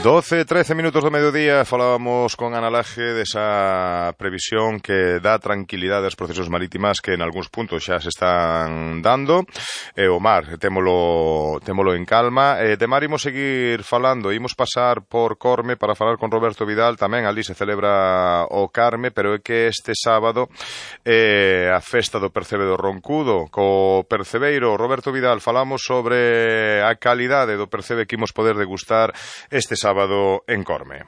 12, 13 minutos do mediodía, falábamos con Ana Laje desa previsión que dá tranquilidade aos procesos marítimas que en algúns puntos xa se están dando. O mar, témolo en calma. De mar imos seguir falando, imos pasar por Corme para falar con Roberto Vidal, tamén ali se celebra o Carme, pero é que este sábado a festa do Percebe do Roncudo. Co percebeiro Roberto Vidal falamos sobre a calidade do percebe que imos poder degustar este sábado en Corme.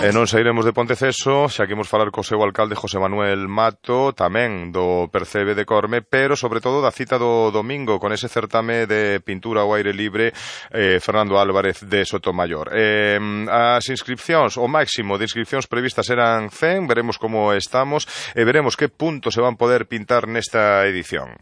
E non sairemos de Ponteceso, xa que imos falar co seu alcalde José Manuel Mato, tamén do Percebe de Corme, pero sobre todo da cita do domingo con ese certame de pintura ao aire libre Fernando Álvarez de Sotomayor. As inscripcións, o máximo de inscripcións previstas eran 100, veremos como estamos e veremos que puntos se van poder pintar nesta edición.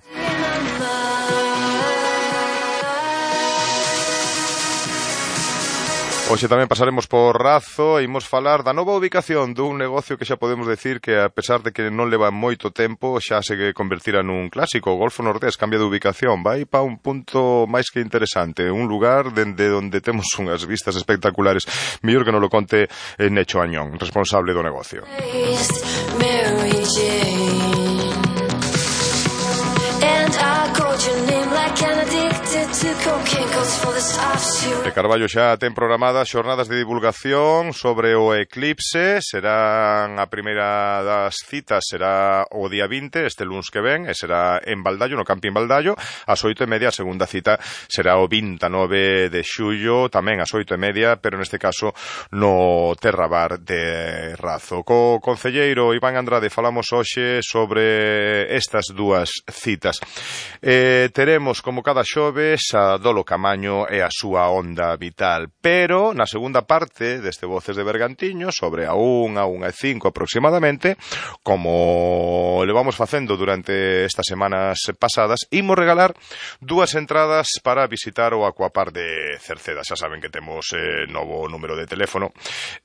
Hoxe tamén pasaremos por Razo e imos falar da nova ubicación dun negocio que xa podemos decir que, a pesar de que non leva moito tempo, xa se convertirá nun clásico. O Golfo Nordés cambia de ubicación, vai para un punto máis que interesante, un lugar dende onde temos unhas vistas espectaculares. Mellor que non lo conte Necho Añón, responsable do negocio. De Carballo xa ten programadas xornadas de divulgación sobre o eclipse. Serán a primeira das citas, será o día 20, este luns que ven, e será en Baldallo, no Camping Baldallo, ás 8:30. A segunda cita será o 29 de xullo, tamén ás 8:30, pero neste caso no Terrabar de Razo. Co concelleiro Iván Andrade falamos hoxe sobre estas dúas citas. Teremos, como cada xoves, a Dolo Camaño e a súa onda vital, pero na segunda parte deste Voces de Bergantiño, sobre a 1:05 aproximadamente, como le vamos facendo durante estas semanas pasadas, imos regalar dúas entradas para visitar o Aquapar de Cerceda. Xa saben que temos novo número de teléfono,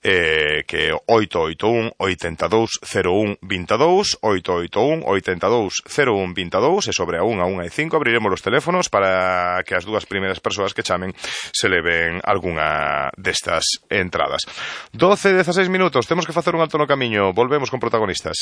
que é 881 82 01 22, 881 82 01 22, e sobre a 1:05 abriremos os teléfonos para que as dúas primeiras persoas que chamen se leven algunha destas entradas. 12, 16 minutos, temos que facer un alto no camiño, volvemos con protagonistas.